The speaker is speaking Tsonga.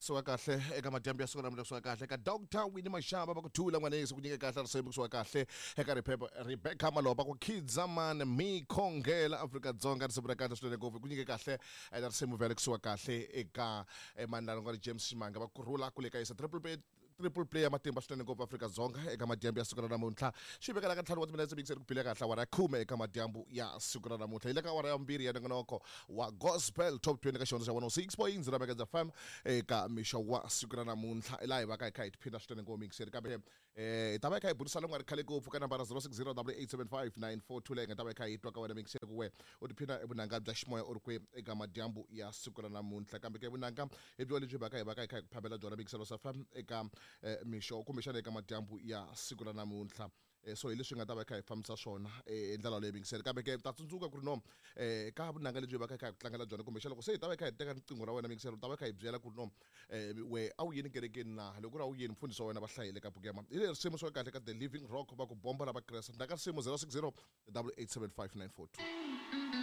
Suka kahle eka madyambu ya siku ra kusuka kahle eka Dr Winnie Mashaba va ku thula n'wanesi ku nyike kahle risimu kusuka kahle eka Rebecca Maloba ku Khidzaman mi khongela Afrika-Dzonga risimu ra kahle swinene ngopfu ku nyike kahle na risimu vhele kusuka kahle eka manana nga ri James Ximanga va kurhula kule ka yisa triple play, triple play ya matimba swinene ngopfu Afrika-Dzonga eka madyambu ya siku ra namuntlha. Xi vekela ka 5 wa timinetse mikiseri ku bile kahle awara ya 10 eka madyambu ya siku ra namuntlha. Hi le ka awara ya 2 ya nongonoko wa Gospel Top 20 ka xihondzo xa 106.0 Megahertz FM eka mixo wa siku ra namuntlha. Laha hi va ka hi kha hi tiphina swinene ngopfu mikiseri, kambe hi ta va hi kha hi burisana ku nga ri khale ngopfu ka nambara 0608875942 leyi nga ta va hi kha hi twa ka wena mikiseri ku we u tiphina vunanga bya ximoya u ri kwi eka madyambu ya siku ra namuntlha. Kambe ke vunanga hi byo lebyi va ka hi va ka hi kha hi ku phamela byona mikiselo sa FM eka mixo kumbexana eka madyambu ya siku ra namuntlha. So hi leswi nga ta va hi kha hi fambisa swona hi ndlela leyi mingiseri. Kambe ke ta tsundzuka ku ri no ka vunanga lebyi va ka hi kha hi ku tlangela byona, kumbexana loko se hi ta va hi kha hi teka riqingho ra wena mingiseri, u ta va hi kha hi byela ku ri no we a wu yeni kerekeni na loko ku ri a wu yeni mfundhisi wa wena va hlayile ka buku ya hi leri risimu swa kahle ka The Living Rock va ku bomba ra Vakreste. Ndzhaku ka risimu 060 8875942.